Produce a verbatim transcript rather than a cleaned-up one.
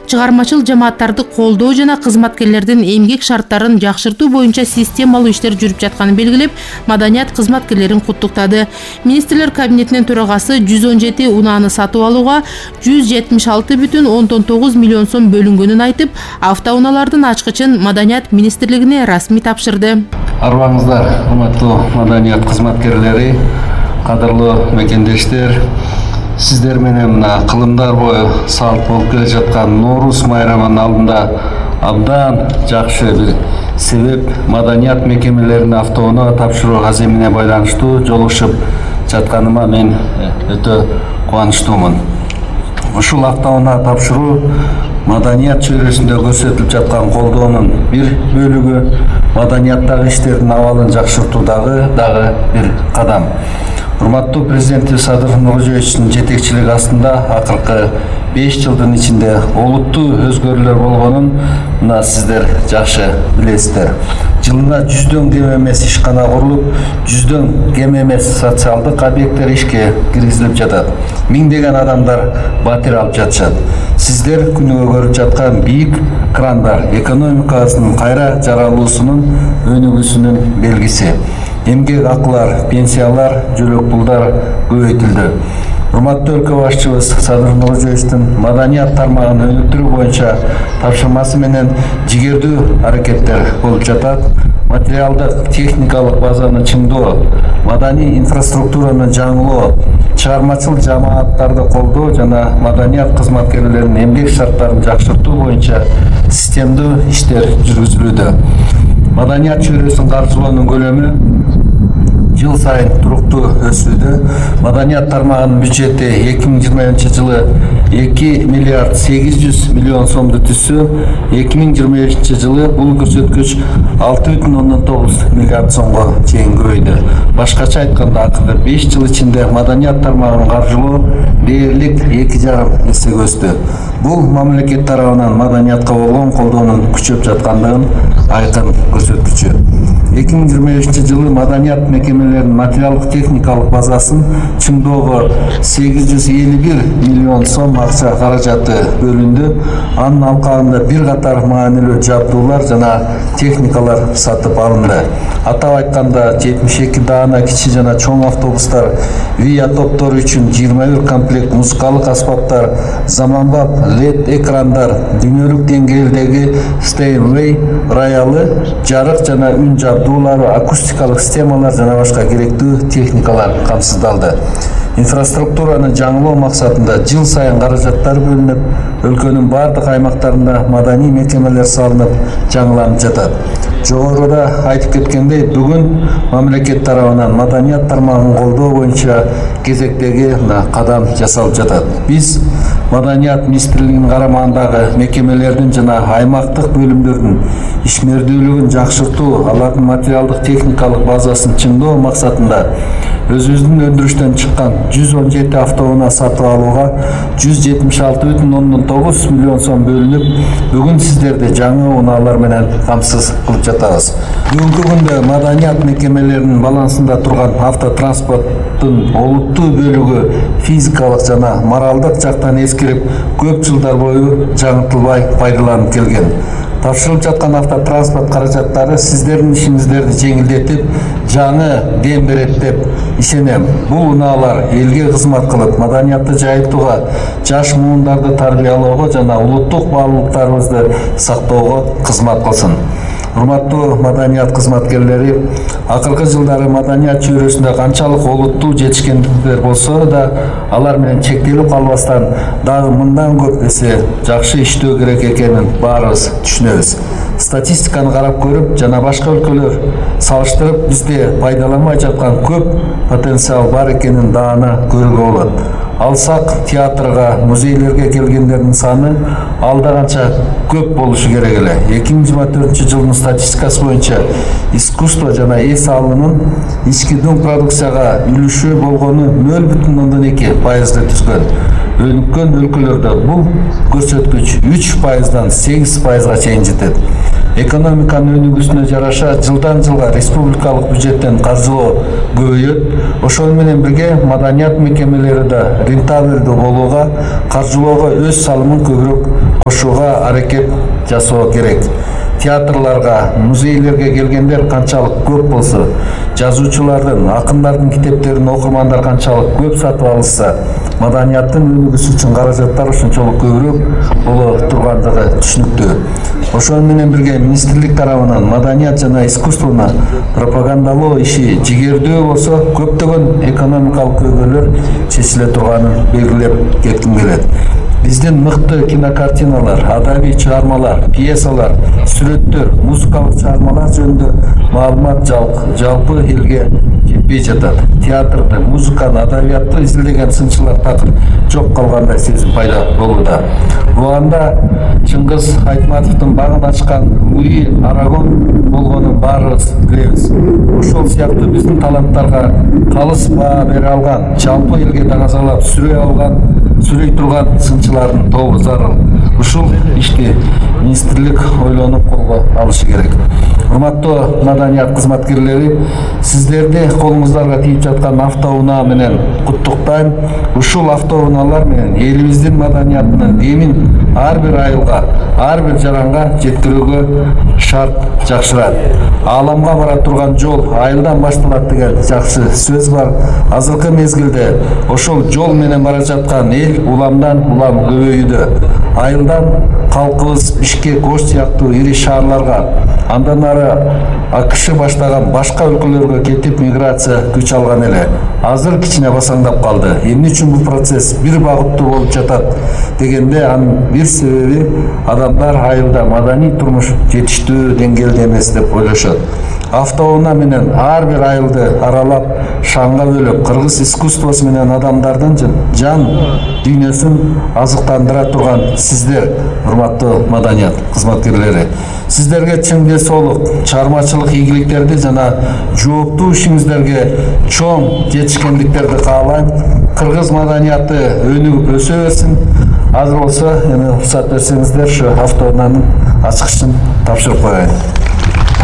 чыгармачыл жамааттарды колдоо жана кызматкерлердин эмгек шарттарын жакшыртуу боюнча системалуу иштер жүрүп жатканын белгилеп, маданият кызматкерлерин куттуктады. Министрлер кабинетинин төрагасы жүз он жети унааны сатып алууга жүз жетимиш алты бүтүн ондон тогуз миллион сом бөлүнгөнүн айтып, автоунаалардын ачкычын Маданият министрлигине расмий тапшырды. Арбаңыздар, урматтуу маданият кызматкерлери, кадырлуу мекендештер, сиздер менен мына кылымдар бою салт болуп келе жаткан Нооруз майрамынын алдында абдан жакшы бир себеп маданият мекемелерине автоунаа тапшыруу аземине байланыштуу жолугушуп жатканыма мен өтө кубанычтуумун. Ушул автоунаа тапшыруу маданият чөйрөсүндө көрсөтүлүп жаткан колдоонун бир бөлүгү, маданияттагы иштердин абалын жакшыртуудагы дагы бир кадам. Урматтуу президенти Садыр Нуркожоевичтин жетекчилиги астында акыркы беш жылдын ичинде олуттуу өзгөрүүлөр болгонун мына сиздер жакшы билесиздер. Жылына жүздөн кем эмес ишкана курулуп, жүздөн кем эмес социалдык объекттер ишке киргизилип жатат. Миңдеген адамдар батир алып жатышат. Сиздер күнүгө көрүп жаткан бийик крандар экономикабыздын кайра жаралуусунун өнүгүүсүнүн белгиси. Эмгек акылар, пенсиялар, жөлөк пулдар көбөйтүлдү. Урматтуу өлкө башчыбыз Садыр Нуркожоевичтин маданият тармагын өнүктүрүү боюнча тапшырмасы менен жигердүү аракеттер болуп жатат. Материалдык, техникалык базаны чыңдоо, маданий инфраструктураны жаңылоо, чыгармачыл жамааттарды колдоо жана маданият кызматкерлеринин эмгек шарттарын жакшыртуу боюнча системдүү иштер жүргүзүлүүдө. Маданият чөйрөсүн каржылоонун көлөмү жыл сайын туруктуу өсүүдө. Маданият тармагынын бюджети эки миң жыйырманчы жылы эки миллиард сегиз жүз миллион сомду түзсө, эки миң жыйырма бешинчи жылы бул көрсөткүч алты бүтүн ондон тогуз миллиард сомго чейин көбөйдү. Башкача айтканда, акыркы беш жыл ичинде маданият тармагын каржылоо дээрлик эки жарым эсеге өстү. Бул мамлекет тарабынан маданиятка болгон колдоонун күчөп жаткандыгын айкын көрсөткүчү. эки миң жыйырма бешинчи жылы маданият мекемелеринин материалдык техникалык базасын чыңдоого сегиз жүз элүү бир миллион сом акча каражаты бөлүндү. Анын алкагында бир катар маанилүү жабдуулар жана техникалар сатып алынды. Атап айтканда, жетимиш эки даана кичи жана чоң автобустар, виа топтору үчүн жыйырма бир комплект музыкалык аспаптар, заманбап лед экрандар, дүйнөлүк деңгээлдеги Steinway роялы, жарык жана үн жабдуулары, акустикалык системалар жана башка керектүү техникалар камсыздалды. Инфраструктураны жаңылоо максатында жыл сайын каражаттар бөлүнүп, өлкөнүн бардык аймактарында маданий мекемелер салынып, жаңыланып жатат. Жогоруда айтып кеткендей, бүгүн мамлекет тарабынан маданият тармагын колдоо боюнча кезектеги кадам жасалып жатат. Биз Маданият министрлигинин карамагындагы мекемелердин жана аймактык бөлүмдөрдүн ишмердүүлүгүн жакшыртуу, алардын материалдык техникалык базасын чыңдоо максатында өзүбүздүн өндүрүштөн чыккан жүз он жети автоунаа сатып алууга жүз жетимиш алты бүтүн ондон тогуз миллион сом бөлүнүп, бүгүн сиздерди жаңы унаалар менен камсыз кылып жатабыз. Бүгүнкү күндө маданият мекемелеринин балансында турган автотранспорттун олуттуу бөлүгү физикалык жана моралдык жактан эскирип, көп жылдар бою жаңыртылбай пайдаланып келген. Тапшырылып жаткан автотранспорт каражаттары сиздердин ишиңиздерди жеңилдетип, жаңы дем берет деп ишенем. Бул унаалар элге кызмат кылып, маданиятты жайылтууга, жаш муундарды тарбиялоого жана улуттук баалуулуктарыбызды сактоого кызмат кылсын. Урматтуу маданият кызматкерлери, акыркы жылдары маданият чөйрөсүндө канчалык олуттуу жетишкендиктер болсо да, алар менен чектелип калбастан, дагы мындан көп эсе жакшы иштөө керек экенин баарыбыз түшүнөбүз. Статистиканы карап көрүп жана башка өлкөлөр салыштырып, бизде пайдаланбай жаткан көп потенциал бар экенин даана көрүүгө болот. Алсак театрга, музейлерге келгендердин саны алда канча көп болушу керек эле. эки миң жыйырма төртүнчү жылдын статистикасы боюнча искусство жана эс алуунун ички дүң продукцияга үлүшү болгону нөл бүтүн ондон эки пайызды түзгөн. Өнүккөн өлкөлөрдө бул көрсөткүч үч пайыздан сегиз пайызга чейин жетет. экономиканын өнүгүүсүнө жараша жылдан жылга республикалык бюджеттен каржылоо көбөйөт. Ошол менен бирге маданият мекемелери да рентабелдүү болууга, каржылоого өз салымын көбүрөөк кошууга аракет жасоо керек. Театрларга, музейлерге келгендер канчалык көп болсо, жазуучулардын, акындардын китептерин окурмандар канчалык көп сатып алышса, маданияттын өнүгүүсү үчүн каражаттар ошончолук көбүрөөк боло тургандыгы түшүнүктүү. Ошол менен бирге министрлик тарабынан маданият жана искусствону пропагандалоо иши жигердүү болсо, көптөгөн экономикалык көйгөйлөр чечиле турганын белгилеп кетким келет. Биздин мыкты кинокартиналар, адабий чыгармалар, пьесалар, сүрөттөр, музыкалык чыгармалар жөнүндө маалымат жалпы элге жетпей жатат. Театрды, музыканы, адабиятты изилдеген сынчылар такыр жок калгандай сезим пайда болууда. Буганда Чыңгыз Айтматовдун багын ачкан Луи Арагон болгонун баарыбыз билебиз. Ошол сыяктуу биздин таланттарга калыс баа бере алган, жалпы элге даңазалап сүрөй алган, сүрөй турган сынчылардын тобу зарыл. Ушул ишти министрлик ойлонуп колго алышы керек. Урматтуу маданият кызматкерлери, сиздерди колуңуздарга тийип жаткан автоунаа менен куттуктайм. Ушул автоунаалар менен элибиздин маданиятынын эмин ар бир айылга, ар бир жаранга жеткирүүгө шарт жакшырат. Ааламга бара турган жол айылдан башталат деген жакшы сөз бар. Азыркы мезгилде ошол жол менен бара жаткан эл уламдан улам көбөйүүдө. Айылдан калкыбыз Бишкек, Ош сыяктуу ири шаарларга, андан ары АКШ баштаган башка өлкөлөргө кетип миграция күч алган эле. Азыр кичине басаңдап калды. Эмне үчүн бул процесс бир багыттуу болуп жатат дегенде, анын бир себеби адамдар айылда маданий турмуш жетиштүү деңгээлде эмес деп ойлошот. Автоунаа менен ар бир айылды аралап, шаңга бөлүп, кыргыз искусствосу менен адамдардын жан дүйнөсүн азыктандыра турган сиздер, урматтуу маданият кызматкерлери, сиздерге чың денсаулык, чыгармачылык ийгиликтерди жана жооптуу ишиңиздерге чоң жетишкендиктерди каалайм. Кыргыз маданияты өнүгүп өсө берсин. Азыр болсо, эми уруксат берсеңиздер, ушу автоунаанын ачкычын тапшырып коеюн.